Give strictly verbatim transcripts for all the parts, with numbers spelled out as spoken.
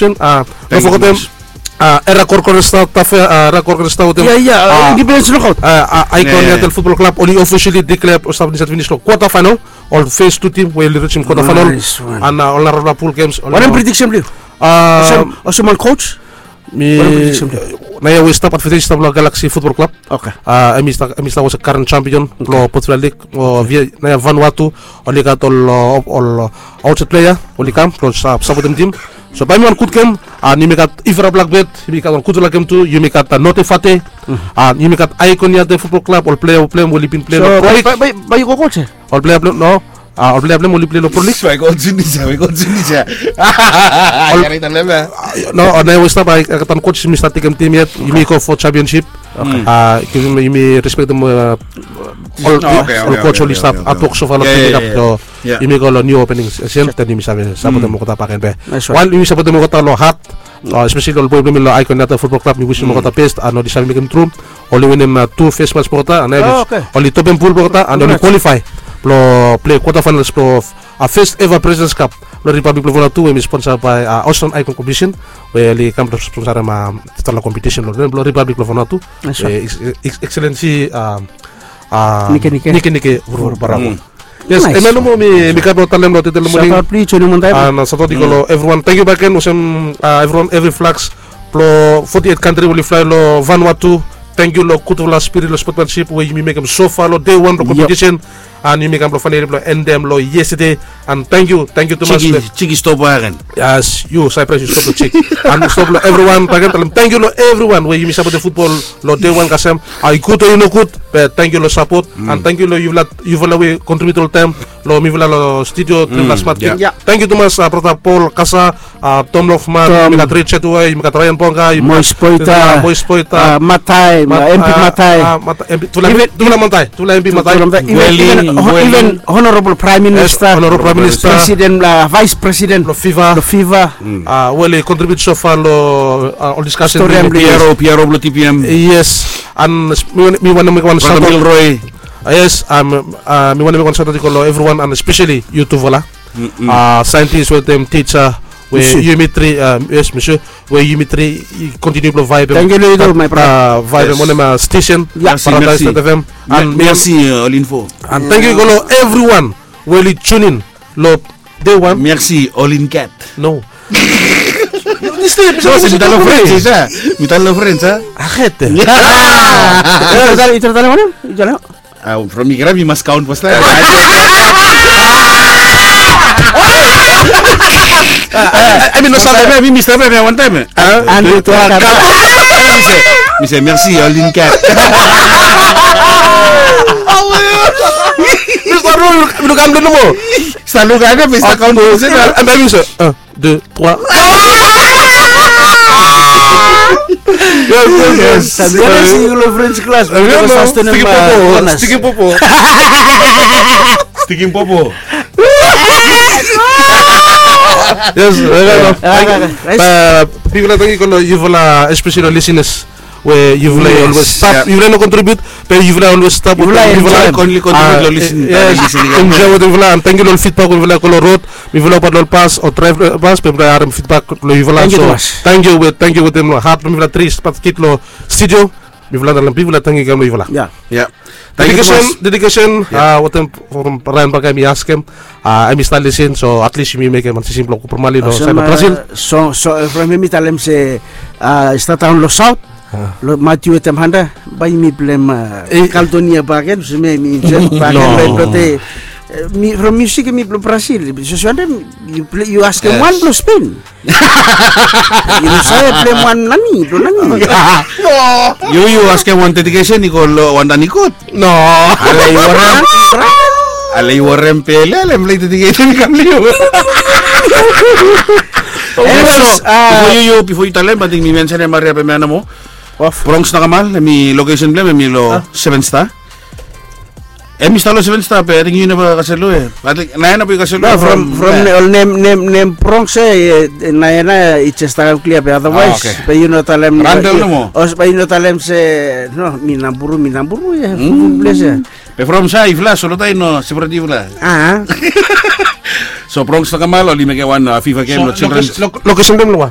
Sen a no fogetem, a era korkor esta tafe a era korkor esta wetem, ia ia, independens nokaut. A ikon ia tel futbol klab oli ofisiali diklea stap insait finis long kwata fainal. Ol fes tu tim we oli risim kwata fainal. An ol narafala pul gems. Wanem prediksen blong yu? Olsem wan coach. Mi naoia we stap advantage stap long Galaxy futbol klab. Oke. Em i stap was a karen champion blong Portugal lig. Naoia Vanuatu oli gat ol ol outsait plea oli kam blong sapotem tim. So bae mi wan gud gem. An yumi gat Ifra Blackbird, yumi gat wan gudfala gem tu. Yumi gat Note Fate, an yumi gat Aikon Yate futbol klab, ol plea blong hem we oli bin plea long Pro League. Bae yu go coach? Ol plea blong hem no, ol plea blong hem oli plei long Pro League. Bae go coach ni sa, bae go coach ni sa. No, naoia we stap, ai gat wan coach mi stap tekem tim yet. Yumi go fo championship. Yumi respektem ol coach oli stap hatwok sofa long tim yet. So yumi go long niu opening season, then yumi save sapotem olgeta bakegen be. Wan yumi sapotem olgeta long hat, espeseli ol boe blong mi long Aikon Yate futbol klab, mi wisim olgeta bes. An oli save mekem tru. Oli winim tu fes mats blong olgeta an oli topem pul blong olgeta an oli kwalifae blong plei kwata fainals blong fes eva Presidents Cup blong Ripablik blong Vanuatu, we mi sponsa bae Australian Icon Competition, we oli kam blong sponsarem dispela kompetisen long nem blong Ripablik blong Vanuatu. Ekselensi Nikenike Vuruvuru Barako. Yes, em ya nomo mi gat blong talem long tete long moning. Sautaut i go long evriwan. Tangkiu bakegen olsem evriwan, evri flags blong foti eit kantri we oli flae long Vanuatu. Tangkiu long gudfala spirit long sportsmanship we yumi mekem sofa long dei wan blong kompetisen. An yumi kam blong fainali blong endem long yestede. An tangkiu, tangkiu tumas. Jiki stop bakegen. Yes, yu Cyprus, yu stop long jik. An stop long evriwan bakegen, talem tangkiu long evriwan we yumi sapotem futbol long dei wan kasem. I gud o i nogud, be tangkiu long sapot. An tangkiu long yufala we kontribiut oltaem long mifala long studio, tripela smat. Tangkiu tumas brata Paul Kasa, Tom Lofman, yumi gat Richard Uai, yumi gat Ryan Bonga, yumi gat Mois Poita, Matai, M P Matai. Tufala Matai, tufala M P Matai. Even Honorable Prime Minister, Honorable Prime Minister, President, Vice President blong FIFA, blong FIFA, we oli kontribiut sofa long ol diskasen blong P R O, P R O blong T P M. Yes, an mi wantem mekem wan sautaut. Yes, mi wantem mekem wan sautaut i go long evriwan an espeseli yutufala. Saentis wetem tija we yumi tri, yes, misia, we yumi tri i kontiniu blong vaevem. Tangkiu long yu tu, my brother. Vaevem wanem, stesen Paradise dot F M. An tangkiu i go long evriwan we oli tunin long dei wan. Mersi Olin Cat. No. Mi talem long French a? Mi talem long French a? Arrête. From mi grab mi mas kaon pastaem. Ai mi no save. Mi mi stap ya wantaem. Mi se mersi Olin Cat. Mi stap ya, mi no kam nomo. Stap lukaot ya, mi stap kaon. Ami se. Deux, trois. Yes, yes, yes. Sabi wan si yu lo French class. Sticky popo. Sticky popo. Yes. Bigfala tangkiu lo yufala, especially lo listeners. We yufala i always stap, yufala i no contribute, be yufala i always stap. Yufala i enjoy. Only contribute lo listening. Yes, enjoy wetem yufala, and tangkiu lo feedback we yufala go lo road. Mifala obat lo bas o drive lo bas, be mifala harem feedback lo yufala. So tangkiu, we tangkiu wetem lo hat blo mifala tri spat kit lo studio. Mifala talem bigfala tangkiu kam lo yufala. Dedication, dedication, wetem from Ryan Baka, mi askem, em i stap listen, so at least yumi mekem wan sisin blo Kupramali lo saed blo Brazil. So, so from hem mi talem se, i stap daon lo saot. Lo Matiu wetem Handa, bae yumi blem Kaldonia bakegen, olsem mi enjoy bakegen lo hem blo te, from musik mi blo Brazil. So, so Handa, yu askem wan blo Spain. Yu no save blem wan nani, blo nani. Yu, yu askem wan dedication i go lo wan nani kot. No. Ale i warem. Ale i warem pele, ale blai dedicate mi kam liu. Bifo yu, yu, bifo yu talem, ating mi mensenem Maria Pemea nomo. Bronx Nakamal, hem i location blem hem i lo Seven Star. Hem i stap lo Seven Star, be ating yu neva kasem lo hem. Ating naoia neva yu kasem lo hem. From, from ol nem, nem, nem Bronx, naoia neva i jes stap klia, be otherwise be yu no talem. Randall nomo. Be yu no talem se no, mi Naburu, mi Naburu ya. Full place ya. Be from sa yufala, so lo taem no separate yufala. So Bronx Nakamal oli mekem wan FIFA game lo children. Location blem lo wa?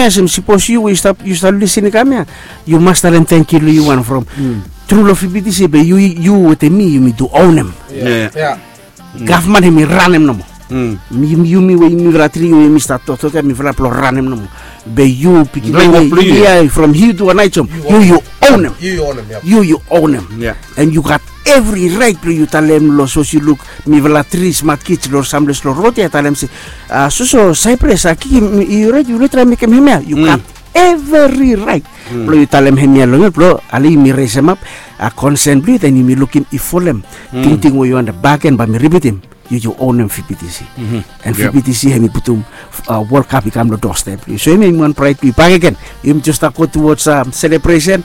hemia olsem sipos yu we yu stap yu stap lisin i kam ya, yu mas talem tangkiu long yu wan from tru long fibitisi be yu yu wetem mi yumi tu onem. Gavman hemi ranem nomo. Yumi we yumi fala tri we yumi stap toktok ya mifala blong ranem nomo. Be yu pikinini ya from hiu tu anaijom yu yu onem. Yu yu onem. And yu gat evri rait blong yu talem long sos yu luk mifala tri smat kij long sam ples long rod ya talem se, soso saipres a kikim yu rait yu rait traem mekem hemia yu gat evri rait blong yu talem hemia long yut blong ale yumi resemap a konsen blong yu den yumi lukim i folem tingting we yu anda bagen bae mi ripitim. Yu yu onem fibitisi. And fibitisi hemi putum wol kap i kam long dostep blong yu so hemia yumi wan praet blong yu bakegen. Yumi jes stap go tuwods selebresen.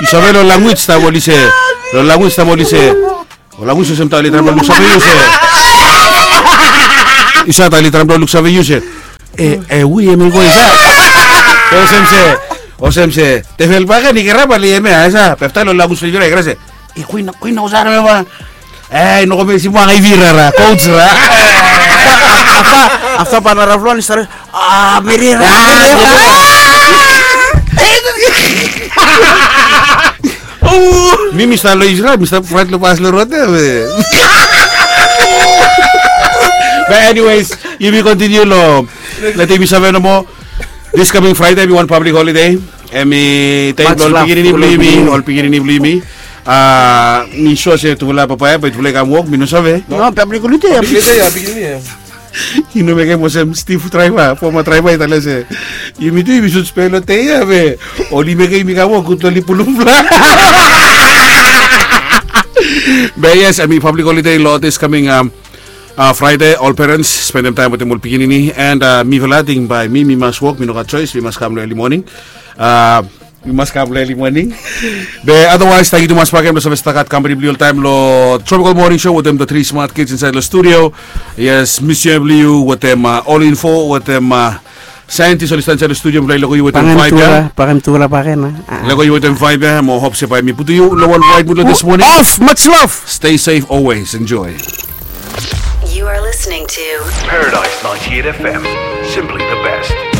Yu save long language taem oli se, long language taem oli se, ol language olsem taem oli traem long save yu se. I save, taem oli traem blong luksave yu se, e, e, we hemi go insait. Olsem se, olsem se tevil bakegen i kirap, oli hemia, i save, befta oli lagus fil vira, i kirap se, e, kwin, kwin, olsem hemia. E, i no go mesi moa ngai vira ra, coach ra. Afta, afta bae narafala oli stap, a, meri ra. Mi, mi stap lo Israel, mi stap fraet lo pas lo rot ia, be. But anyways, yumi kontiniu lo, letem yumi save nomo. This coming Friday hemi wan public holiday. Hemi dei blo ol pikinini blo yumi, ol pikinini blo yumi. A, mi sua se tufala papa ia bae tufala i kam wok, mi no save. No, public holiday ia. Public holiday ia, pikinini ia. Yu no mekem olsem Steve draiva, foma draiva, i talem se, yumi tu yumi sud spea lo dei ia be oli mekem yumi kam wok, gud oli pulum flag. Be yes, hemi public holiday lo this coming, um, uh, Friday, ol parents spendem taem wetem ol pikinini, and, uh, mifala ating bae mi, mi mas wok, mi no gat choes, mi mas kam lo early morning. Uh, Mi mas kam lo early morning. Be otherwise, tangkiu tumas bakegen blo save stap gat kampani blo yu oltaem lo Tropical Morning Show wetem the three smart kids insaed lo studio. Yes, Monsieur Bliu wetem, uh, All Info wetem, uh, scientist oli stap insaed lo studio blo i lukim yu wetem vibe ia. Lukim yu wetem vibe ia, mo hop se bae mi putum yu lo wan right mood lo this morning. Off, much love. Stay safe always, enjoy. You are listening to Paradise ninety-eight F M, simply the best.